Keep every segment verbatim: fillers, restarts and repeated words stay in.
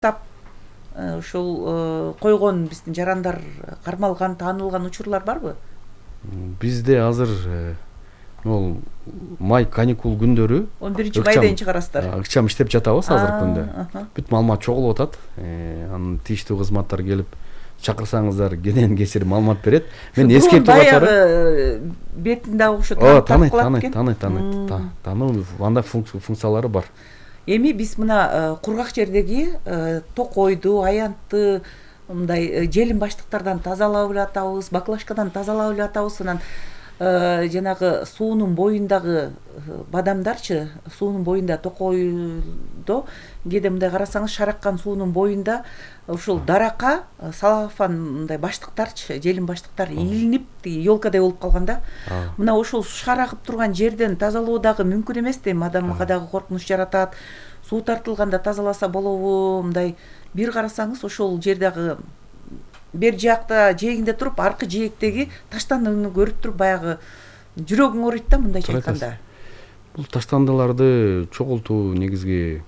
тап ушул койгон биздин жарандар кармалган, таанылган учурлар барбы? Бизде азыр могул май каникул күндөрү он биринчи майден чыгарасыздар. Ыкчам иштеп жатабыз азыркы күндө. Бүт маалымат чогулуп атат. Анын тийиштүү кызматтар келип чакырсаңыздар кенен кесир маалымат берет. Мен эскертип атарым. Бетин дагы ошо таанып калат экен. Таный, таный, таный. Тануу анда функциялары бар. Эми биз мына кургак жердеги токойду, аянтты мындай желим баштыктардан тазалап эле атабыз, баклажкадан тазалап эле атабыз. Анан жанагы суунун боюндагы бадамдарчы, суунун боюнда токойдо кээде мындай карасаңыз шараккан суунун боюнда ушул даракка салафан мындай баштыктарчы, желим баштыктар илинип елкадай болуп калган да. Мына ушул шарагып турган жерден тазалоо дагы мүмкүн эмес дейм, адамга дагы коркунуч жаратат. Суу тартылганда тазаласа болобу? Мындай бир карасаңыз ошол жердагы бер жакта жээгинде туруп, аркы жээктеги таштандыны көрүп туруп баягы жүрөгүң ооруйт да мындайча айтканда. Бул таштандыларды чогултуу негизги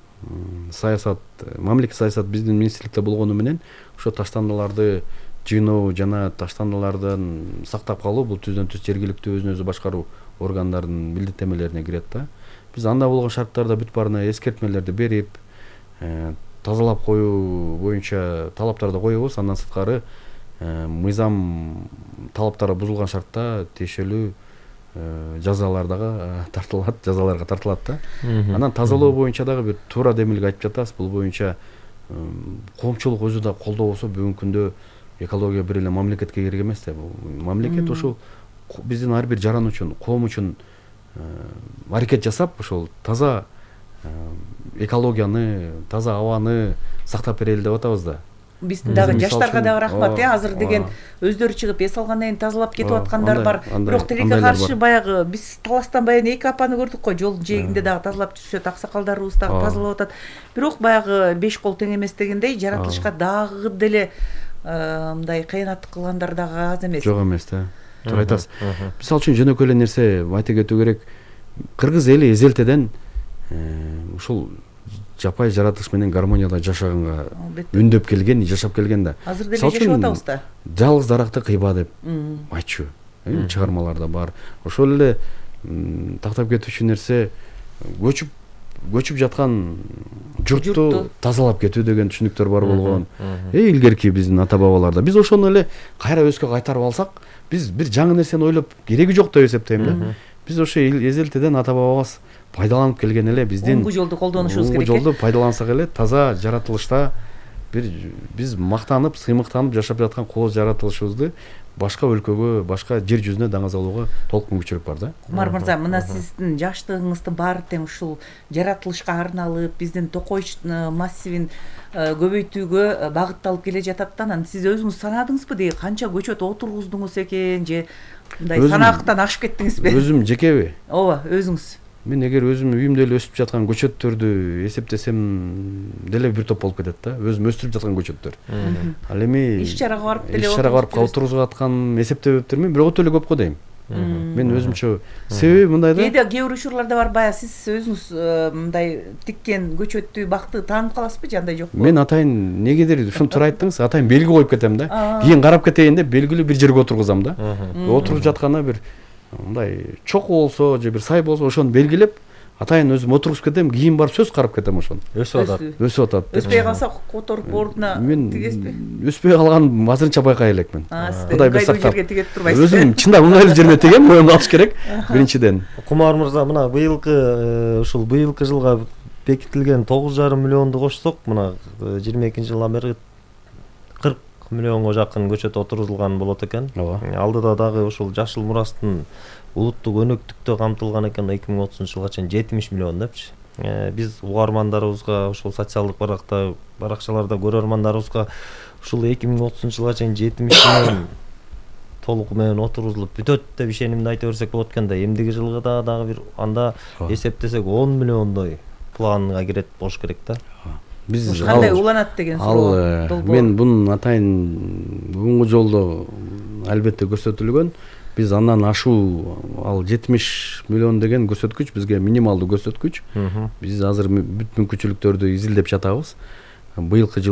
саясат, мамлекет саясат биздин министрликте болгону менен ошо таштандыларды жыйноо жана таштандылардан сактап калуу бул түздөн түз жергиликтүү өзүн өзү башкаруу органдарынын милдеттенмелерине кирет да. Биз анда болгон шарттарда бүт баарына эскертмелерди берип, тазалап коюу боюнча талаптарды коебуз. Андан сырткары мыйзам талаптары бузулган шартта тиешелүү жазалар дагы тартылат, жазаларга тартылат да. Анан тазалоо боюнча дагы бир туура демилге айтып жатабыз. Бул боюнча коомчулук өзү да колдоо болсо бүгүнкү күндө экология бир эле мамлекетке керек эмес да. Мамлекет ушул биздин ар бир жаран үчүн, коом үчүн аракет жасап, ошол таза экологияны, таза абаны сактап берели деп атабыз да. Биздин дагы жаштарга дагы рахмат, э, азыр деген өздөрү чыгып эс алгандан кийин тазалап кетип аткандар бар. Бирок тилекке каршы баягы биз таластан баягы эки апаны көрдүк го, жолдун жээгинде дагы тазалап жүрүшөт, аксакалдарыбыз дагы тазалап атат. Бирок баягы беш кол тең эмес дегендей жаратылышка дагы деле мындай кыянаттык кылгандар дагы аз эмес. Жок эмес да. Туура айтасыз. Мисалы үчүн жөнөкөй эле нерсе айта кетүү керек. Кыргыз эли эзелтеден ушул жапай жаратылыш менен гармонияда жашаганга үндөп келген, жашап келген да. Азыр деле жашап атабыз да. Жалгыз даракты кыйба деп айтчу чыгармаларда бар. Ошол эле тактап кетүүчү нерсе көчүп көчүп жаткан журтту тазалап кетүү деген түшүнүктөр бар болгон. Э илгерки биздин ата бабаларда биз ошону эле кайра өскө кайтарып алсак, биз бир жаңы нерсени ойлоп кереги жок деп эсептейм да. Биз ошо эзелтеден ата бабабыз пайдаланып келген эле биздин оңгу жолду колдонушубуз керек. Оңгу жолду пайдалансак эле таза жаратылышта бир биз мактанып, сыймыктанып жашап жаткан кооз жаратылышыбызды башка өлкөгө, башка жер жүзүнө даңазалоого толук мүмкүнчүлүк бар да. Кумар мырза, мына сиздин жаштыгыңыздын баары тең ушул жаратылышка арналып, биздин токой массивин көбөйтүүгө багытталып келе жатат да. Анан сиз өзүңүз санадыңызбы деги канча көчөт отургуздуңуз экен же мындай санаактан ашып кеттиңизби? Өзүм жекеби? Ооба, өзүңүз. Мен эгер өзүм үйүмдө эле өсүп жаткан көчөттөрдү эсептесем деле бир топ болуп кетет да. Өзүм өстүрүп жаткан көчөттөр. Ал эми иш чарага барып деле иш чарага барып отургузуп аткан эсептебептермин, бирок өтө эле көп го дейм. Мен өзүмчө себеби мындай да. Кээде кээ бир учурларда бар, баягы сиз өзүңүз мындай тиккен көчөттү, бакты таанып каласызбы же андай жокпу? Мен атайын негедир ушуну туура айттыңыз, атайын белги коюп кетем да. Кийин карап кетейин деп белгилүү бир жерге отургузам да. Отуруп жатканда бир мындай чокуу болсо же бир сай болсо ошону белгилеп атайын өзүм отургузуп кетем, кийин барып сөз карап кетем ошону. Өсүп атат. Өсүп атат. Өспөй калса которуп ордуна тигесизби? Өспөй калган азырынча байкай элекмин. Кудай бир сактап. Өзүм чындап мындай эле жерге тегем, моюнга алыш керек биринчиден. Кумар мырза, мына быйылкы ушул быйылкы жылга бекитилген тогуз жарым миллионду кошсок, мына жыйырма экинчи жылдан бери кырк миллионго жакын көчөт отургузулган болот экен. Алдыда дагы ушул жашыл мурастын улуттук өнөктүктө камтылган экен эки миң отузунчу жылга чейин жетимиш миллион депчи. Биз угармандарыбызга, ушул социалдык баракта баракчаларда көрөрмандарыбызга ушул эки миң отузунчу жылга чейин жетимиш миллион толугу менен отургузулуп бүтөт деп ишенимди айта берсек болот экен да. Эмдиги жылга да дагы бир анда эсептесек он миллиондой планга кирет болуш керек да. Биз кандай уланат деген суроо долбоор. Мен бунун атайын оңгу жолдо албетте көрсөтүлгөн. Биз андан ашуу ал жетимиш миллион деген көрсөткүч бизге минималдуу көрсөткүч. Биз азыр бүт мүмкүнчүлүктөрдү изилдеп жатабыз. быйылкы